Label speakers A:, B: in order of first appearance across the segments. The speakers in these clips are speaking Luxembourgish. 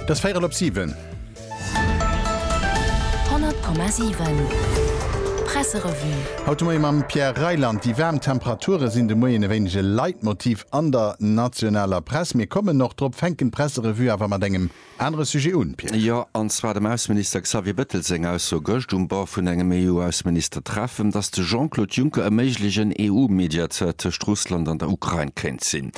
A: Et ass véierel op 7.
B: 100,7 Presserevue.
A: Haut de Moie mam Pierre Reyland. Déi waarm Temperature sinn de Moien e wéineg e Leitmotiv an der nationaler Press. Mir kommen och drop, fänken d'Presserevue awer mat engem Anere Sujet un, Pierre.
C: Jo, an zwar dem Ausseminister Xavier Bettel seng Ausso gëscht um Bord vun engem EU-Ausseministertreffen, datt de Jean-Claude Juncker e méiglegen EU-Mediateur tëscht Russland an der Ukrain kéint sinn.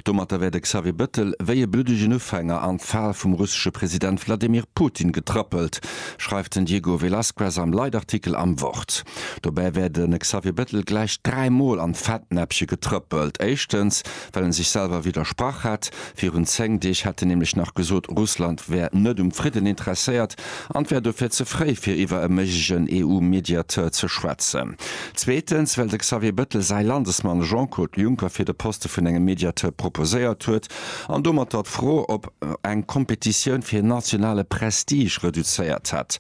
C: Domatter wär de Xavier Bettel wéi e bluddegen Ufänger an d'Fal vum russesche President Wladimir Putin getrëppelt, schreift den Diego Velazquez am Leitartikel am Wort. Dobäi wär de Xavier Bettel gläich 3 Mol an d'Fettnäppche getrëppelt. Éischtens, well en sech selwer widdersprach hätt. Virun 10 Deeg hätt en nämlech nach gesot, Russland wär net um Fridden interesséiert an et wär dofir ze fréi fir iwwer e méiglegen EU-Mediateur ze schwätzen. Zweetens, well de Xavier Bettel säi Landesmann Jean-Claude Juncker fir de Poste vun engem Mediateur proposéiert huet an domatter d'Fro op eng Kompetitioun fir nationale Prestige reduzéiert hätt.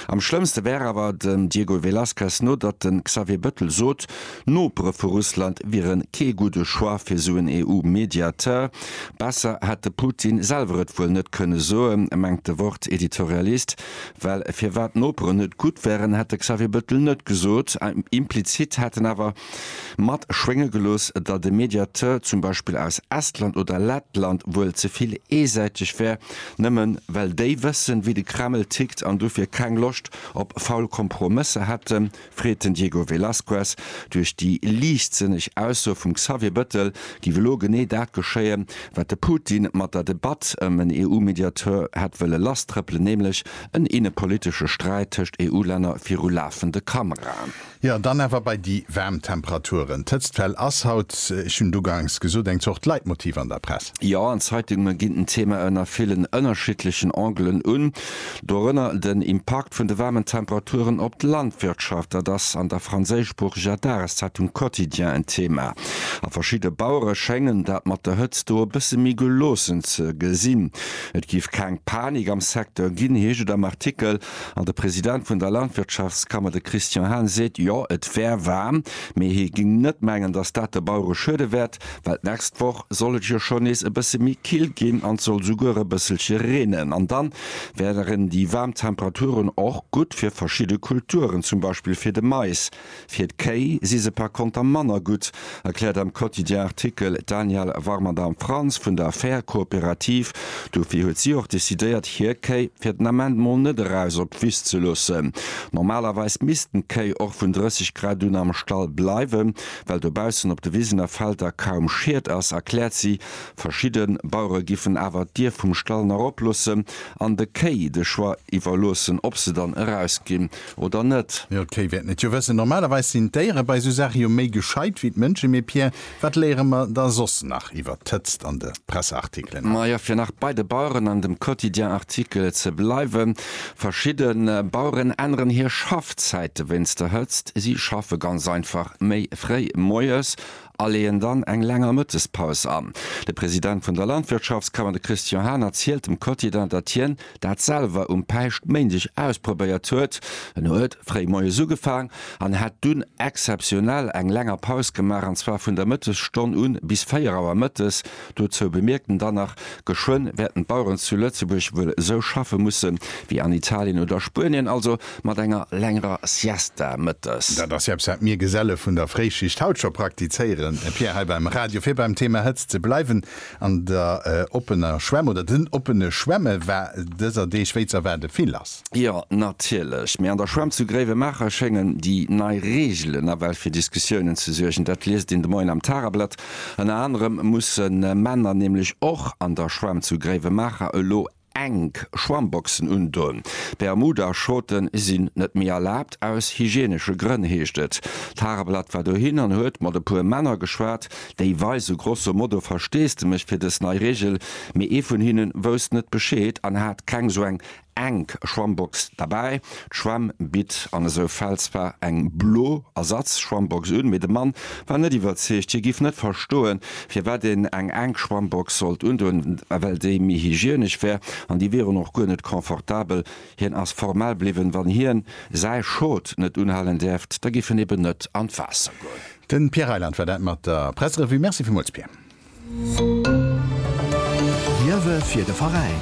C: Am schlëmmste wär awer, dem Diego Velazquez no, datt de Xavier Bettel sot, D'Nopere vu Russland wiere kee gudde Choix fir sou en EU-Mediateur. Besser hätt de Putin selwer et wuel net kënne soen, mengt de Wort-Editorialist. Well firwat d'Noperen net gutt wären, hätt de Xavier Bettel net gesot. Implizit hätt en awer mat schwénge gelooss, datt e Mediateur zum Beispill aus Estland oder Lettland wuel ze vill eesäiteg wär, nëmmen well déi wëssen, wéi de Kreml tickt an dofir keng Loscht op faul Kompromësser hätten. Freet den Diego Velazquez. Duerch déi liichtsënneg Ausso vum Xavier Bëttel giff elo genee dat geschéien, wat de Putin mat der Debatt ëm en EU-Mediateur hätt wëlle lasstrëppelen, nämlech en innepolitesche Sträit tëscht EU-Länner viru lafende Kameraen.
A: Jo, dann awer bei déi waarm Temperaturen. D'Hëtztwell ass haut, ech hunn et uganks gesot, eng Zort Leitmotiv an der Press.
C: Jo, an d'Zeitunge ginn den Thema ënner villen ënnerschiddlechen Angelen un. Dorënner den Impakt vun de waarmen Temperaturen op d'Landwirtschaft. Dat ass an der franséischsproocheger Dageszeitung Quotidien en Thema. A verschidde Bauere schéngen dat mat der Hëtzt do e bësse méi geloossen ze gesinn. Et géif keng Panik am Secteur ginn, heescht et am Artikel. An de President vun der Landwirtschaftskammer, de Christian Hahn, seet, jo, et wär waarm, mee hie géing net mengen, datt dat de Bauere schuede wäert. Well d'nächst Woch soll et jo schonn nees e bësse méi kill ginn an et soll souguer e bësselche reenen. An dann wären déi waarm Temperaturen och gutt fir verschidde Kulturen, zum Beispill fir de Mais. Fir d'Kéi si se par konter manner gutt, erkläert am Quotidien-Artikel d'Danièle Warmerdam-Franz vun der Fair Kooperativ. Dofir huet si och decidéiert, hir Kéi fir den Ament mol net eraus op d'Wiss ze loossen. Normalerweis missten d'Kéi och vun 30 Grad un am Stall bleiwen. Well dobaussen op de Wisen a Felder kaum Schied ass, erkläert si, verschidde Bauere giffen awer d'Dier vum Stall nach oploossen an de Kéi de Choix iwwerloossen, ob se dann erausginn oder net.
A: Jo, d'Kéi wäerten et jo wëssen. Normalerweis sinn d'Déiere bei esou Saache jo méi gescheit wéi d'Mënschen. Mee Pierre, wat léiere mer da soss nach iwwer d'Hëtzt an de Presseartikelen
C: haut? Majo, fir nach bei de Baueren an dem Quotidien-Artikel ze bleiwen, Verschidde Baueren änneren hir Schaffzäite wéinst der Hëtzt. Si schaffe ganz einfach méi fréi moies a leeën dann eng länger Mëttespaus an. De President vun der Landwirtschaftskammer, de Christian Hahn, erzielt dem Quotidien, datt hien dat selwer um Päischtméindeg ausprobéiert huet. En huet fréi moies ugefaang an hätt dunn exzeptionell eng länger Paus gemaach, an zwar vun der Mëttesstonn un bis 4 Auer mëttes. Dozou bemierkt en dann nach, Geschwënn wäerten d'Baueren zu Lëtzebuerg wuel esou schaffe musse wéi an Italien oder Spuenien, also mat enger längerer Siesta mëttes.
A: Dat ass jo eppes, wat mir Geselle vun der Fréischicht haut scho praktizéieren, Pierre, hei beim Radio. Fir beim Thema Hëtzt ze bleiwen, An der oppener Schwämm oder den oppene Schwämme war dëser Deeg wéi z'erwaarde vill lass.
C: Jo, natierlech. Mee an der Schwämm zu Gréiwemaacher schéngen déi nei Reegelen nawell fir Diskussiounen ze suergen. Dat liest een de Moien am Tageblatt. Ënner anerem musse Männer nämlech och an der Schwämm zu Gréiwemaacher elo enk Schwammboxen undoen. Bermuda-Shorte sinn net méi erlaabt, aus hygienesche Grënn, heescht et. D'Tageblatt war dohin an huet mat e puer Männer geschwat, déi weise grosso modo Versteesdemech fir dës nei Reegel, mee ee vun hinne wousst net Bescheed an hat keng sou eng Enk Schwammbox derbäi. D'Schwämm bitt an esou Fäll zwar eng blo Ersatz-Schwammbox un, mee de Mann war net iwwerzeegt. Hie giff net verstoen, firwat een eng enk Schwammbox sollt undoen, well déi méi hygienesch wär an déi wieren och guer net confortabel. Hien ass formell bliwwen, wann hien säi Schot net unhalen däerft, da giff en eben net an d'Waasser goen.
A: Den Pierre Reyland war dat mat der Presserevue. Merci villmools Pierre.
D: Liewe fir de Veräin.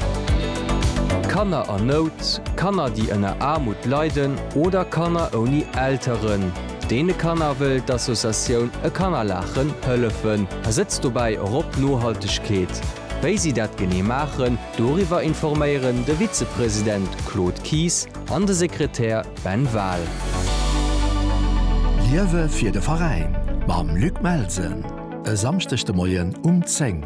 D: Kanner an Nout, Kanner déi ënner Aarmut leiden oder Kanner ouni Elteren. Deene Kanner wëll d'Associatioun E Kannerlaachen hëllefen a sëtzt dobäi och op Nohaltegkeet. Wéi si dat genee maachen, doriwwer informéieren de Vizepresident Claude Kies an de Sekretär Ben Wahl.
E: Liewe fir de Veräin mam Luc Melsen e Samschdeg de Moien um 10.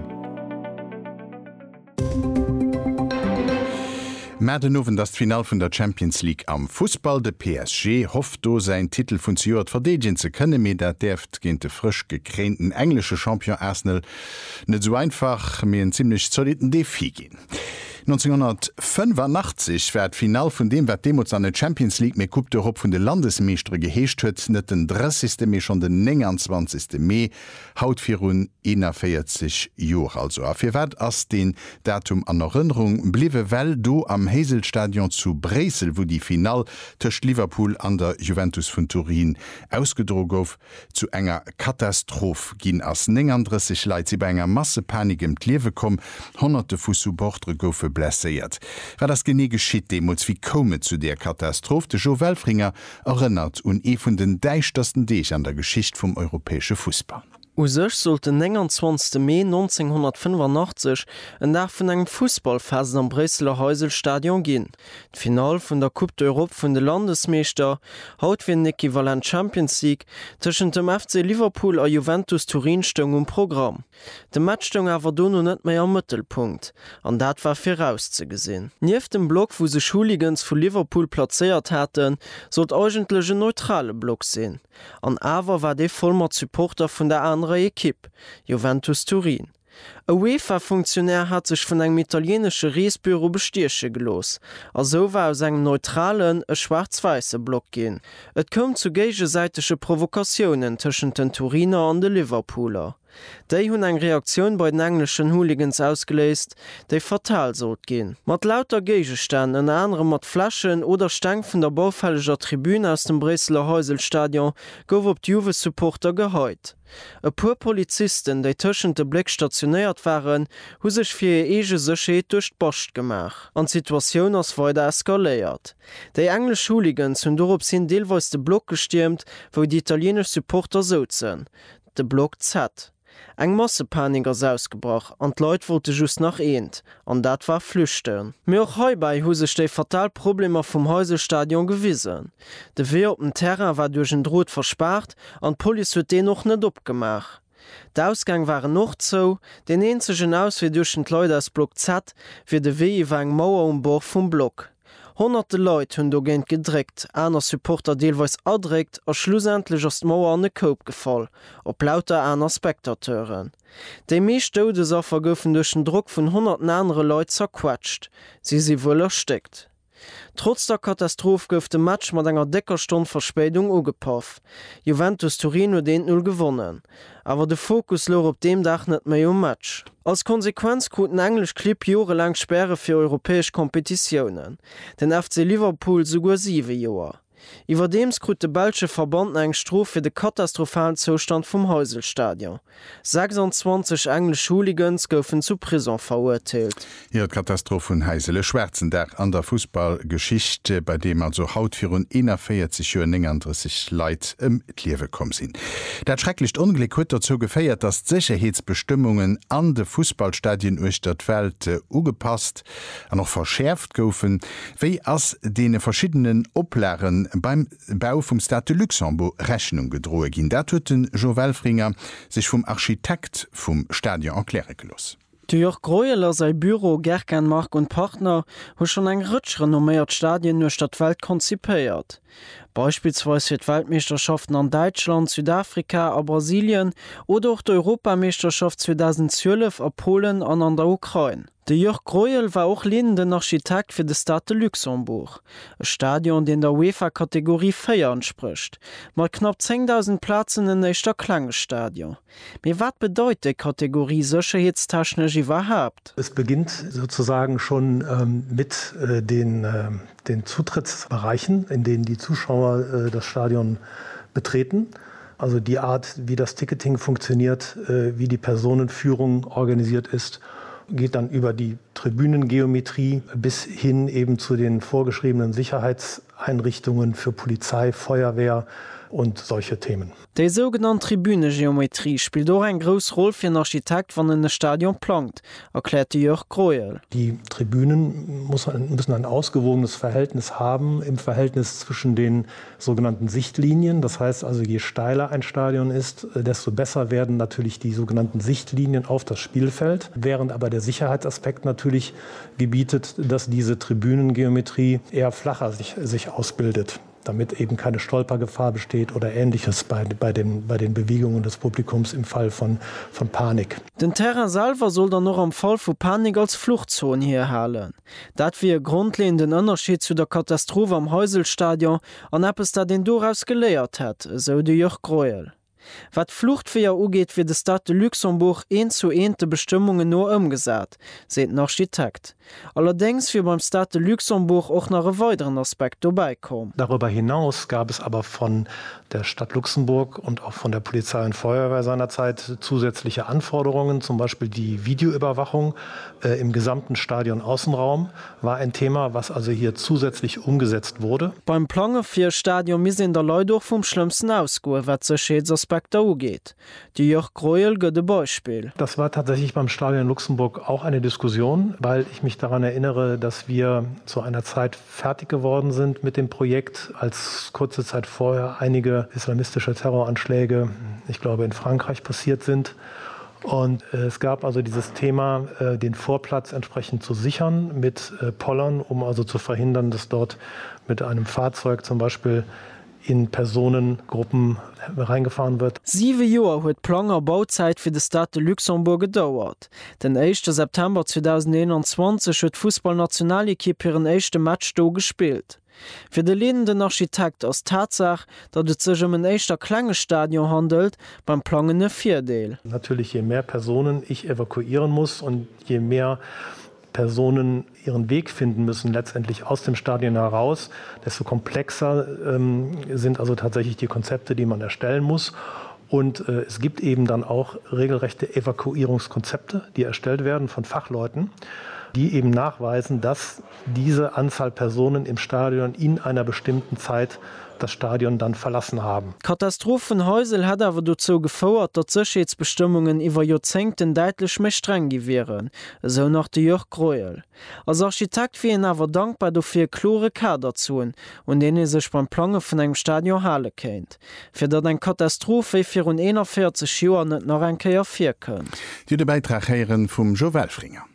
A: Mä den Owend ass d'Finall vun der Champions League am Fussball. De PSG hofft do säin Titel vun zejoert verdeedegen ze kënnen, mee dat däerft géint de frësch gekréinten englesche Champion Arsenal net esou einfach, mee en zimmlech zolitten Defi ginn. 1985 war d'Finall vun deem, wat deemools nach net Champions League, mee Coupe d'Europe vun de Landesmeeschtere geheescht huet, net den 30. mee schonn den 29. Mee Haut virun 41 Joer also. A firwat ass deen Datum an Erënnerung bliwwe? Well do am Heysel-Stadion zu Bréissel, wou déi Finall tëscht Liverpool an der Juventus vun Turin ausgedro gouf, zu enger Katastroph ginn ass. 39 Leit si bei enger Massepanik ëm d'Liewe komm, Honnerte vu Supportere goufe blesséiert. Wat ass genee geschitt deemools? Wéi koum et zu där Katastroph? De Jo Welfringer Erënnert un ee vun den däischtersten Deeg an der Geschicht vum europäesche Fussball.
F: U sech sollt den 29 Mee 1985 en Dag vun engem Fussballfest am Bréisseler Heysel-Stadion ginn. D'Finall vun der Coupe d'Europe vun de Landesmeeschter, haut wier den Equivalent Champions League, tëschent dem FC Liverpool a Juventus Turin stoung um Programm. De Match stoung awer dono net méi am Mëttelpunkt, an dat war virauszegesinn. Nieft dem Block, wou sech Hooligans vu Liverpool plazéiert haten, sollt eigentlech en neutrale Block sinn. An awer war dee voll mat Supporter vun der anerer Ekipp, Juventus Turin. E UEFA-Funktionär hat sech vun engem italieenesche Reesbüro bestieche gelooss, a sou war aus engem neutralen e schwaarz-wäisse Block ginn. Et koum zu géigesäitege Provokatiounen tëschent den Turiner an de Liverpooler. Déi hunn eng Reaktioun bei den engleschen Hooligans ausgeléist, déi fatal sollt ginn. Mat lauter Géigestänn, ënner anerem mat Fläschen oder Steng vun der baufälleger Tribün aus dem Bréisseler Heysel-Stadion, gouf op d'Juve-Supporter geheit. E puer Polizisten, déi tëschent de Bléck stationéiert waren, hu sech fir hir eege Sécherheet duerch d'Bascht gemaach an d'Situatioun ass weider eskaléiert. Déi englesch Hooligans hunn dorops hin deelweis de Block gestiermt, wou déi italieenesch Supporter souzen. De Block Z. Eng Massepanik ass ausgebrach an d'Leit wollte just nach eent, an dat war flüchten. Mee och heibäi hu sech déi fatal Problemer vum Heysel-Stadion gewisen. De Wee op den Terrain war duerch en Drot verspaart an d'Police huet deen och net opgemaach. D'Ausgäng waren och zou, deen eenzegen Auswee duerch den d'Leit aus Block Z wier de Wee iwwer eng Mauer um Bord vum Block. Honnerte Leit hunn dogéint gedréckt, aner Supporter deelweis erdréckt a schlussendlech ass d'Mauer an e Koup gefall, op lauter aner Spectateuren. Déi meescht Doudesaffer goufen duerch den Drock vun honnerten anere Leit zerquetscht, si si wuel erstéckt. Trotz der Katastroph gouf de Match mat enger décker Stonn Verspéidung ugepaff. Juventus Turin huet 1, 0 gewonnen. Awer de Fokus louch op deem Dag net méi um Match. Als Konsequenz kruten englesch Clibb jorelaang Späre fir europäesch Kompetitiounen, den FC Liverpool souguer 7 Joer. Iwwerdeems krut de belsche Verband nach eng Strof fir de katastrophalen Zoustand vum Heysel-Stadion. 26
A: englesch Hooligans goufen zu Prison verurteelt. Jo, d'Katastroph vun Heysel, e schwaarzen Dag an der Fussballgeschicht, bei deem also haut virun 41 Joer 39 Leit ëm d'Liewe komm sinn. Dat schrecklecht Ongléck huet dozou geféiert, datt d'Sécherheetsbestëmmungen an de Fussballstadien uechter d'Welt ugepasst an och verschäerft goufen. Wéi ass deene verschiddenen Oplage beim Bau vum Stade de Luxembourg Rechnung gedroe ginn? Dat huet de Jo Welfringer sech vum Architekt vum Stadion erkläre gelooss.
F: De Jörg Greuel a säi Büro Gerkan Marg und Partner hu schonn eng Rëtsch renomméiert Stadien uechter d'Welt konzipéiert. Beispillsweis fir d'Weltmeeschterschaften an Däitschland, Südafrika a Brasilien oder och d'Europameeschterschaft 2012 a Polen an an der Ukrain. De Jörg Greuel war och leedenden Architekt fir de Stade de Luxembourg, e Stadion, deen der UEFA-Kategorie 4 entsprécht, mat knapp 10.000 Plazen en éischter klenge Stadion. Mee wat bedeit déi Kategorie sécherheetstechnesch iwwerhaapt?
G: Es beginnt sozusagen schon mit den den Zutrittsbereichen, in denen die Zuschauer das Stadion betreten. Also die Art, wie das Ticketing funktioniert, wie die Personenführung organisiert ist. geht dann über die Tribünengeometrie bis hin eben zu den vorgeschriebenen Sicherheitseinrichtungen für Polizei, Feuerwehr und solche Themen.
F: Déi sougenannt Tribünegeometrie spillt och eng grouss Roll fir en Architekt, wann en e Stadion plangt, erkläert de Jörg Greuel.
G: Die Tribünen muss müssen ein ausgewogenes Verhältnis haben im Verhältnis zwischen den sogenannten Sichtlinien. Das heißt also, je steiler ein Stadion ist, desto besser werden natürlich die sogenannten Sichtlinien auf das Spielfeld, während aber der Sicherheitsaspekt natürlich gebietet, dass diese Tribünengeometrie eher flacher sich, sich ausbildet damit eben keine Stolpergefahr besteht oder ähnliches bei, bei, den, bei den Bewegungen des Publikums im Fall von, von Panik.
F: Den Terrain selwer soll dann och am Fall vu Panik als Fluchtzon hierhalen. Dat wier e grondleeënden Ënnerscheed zu der Katastroph am Heiselstadion an eppes, dat een doraus geléiert hätt, esou de Jörg Greuel. Wat d'Fluchtweeër ugeet, wier de Stade de Luxembourg eent zu eent de Bestëmmungen no ëmgesat, seet den Architekt. Allerdéngs wier beim Stade de Luxembourg och nach e weideren Aspekt dobäi komm.
G: Darüber hinaus gab es aber von der Stadt Luxemburg und auch von der Polizei und Feuerwehr seinerzeit zusätzliche Anforderungen, zum Beispiel die Videoüberwachung äh, im gesamten Stadion Außenraum war ein Thema, was also hier zusätzlich umgesetzt wurde.
F: Beim Plange fir e Stadion misst een der Leit och vum Schlëmmsten ausgoen, wat d'Sécherheetsaspekter ugeet. De Jörg Greuel gëtt e Beispill.
G: Das war tatsächlich beim Stadion Luxemburg auch eine Diskussion, weil ich mich daran erinnere, dass wir zu einer Zeit fertig geworden sind mit dem Projekt, als kurze Zeit vorher einige islamistische Terroranschläge, ich glaube in Frankreich passiert sind. Und äh, es gab also dieses Thema, äh, den Vorplatz entsprechend zu sichern mit äh, Pollern, um also zu verhindern, dass dort mit einem Fahrzeug zum Beispiel in Personengruppen reingefahren wird.
F: Siwe Joer huet d'Plang a Bauzäit fir de Stade de Luxembourg gedauert. Den éischte September 2021 huet d'Fussballnationalekipp hiren éischte Match do gespillt. Fir de leedenden Architekt ass d'Tatsaach, datt et sech ëm en éischter klenge Stadion handelt, beim Plangen e Virdeel.
G: Natürlich je mehr Personen ich evakuieren muss und je mehr Personen ihren Weg finden müssen letztendlich aus dem Stadion heraus, desto komplexer ähm, sind also tatsächlich die Konzepte, die man erstellen muss. Und äh, es gibt eben dann auch regelrechte Evakuierungskonzepte, die erstellt werden von Fachleuten, die eben nachweisen, dass diese Anzahl Personen im Stadion in einer bestimmten Zeit das Stadion dann verlassen haben.
F: D'Katastroph vun Heysel hätt awer dozou gefouert, datt d'Sécherheetsbestëmmungen iwwer Joerzéngten däitlech méi streng gi wieren, esou nach de Jörg Greuel. Als Architekt wier een awer dankbar dofir, e klore Kader ze hunn, un deen ee sech beim Plange vun engem Stadion hale kéint, fir datt eng Katastroph wéi virun 41 Joer net nach eng Kéier virkënnt.
A: Dir hutt e Bäitrag héieren vum Joe Welfringer.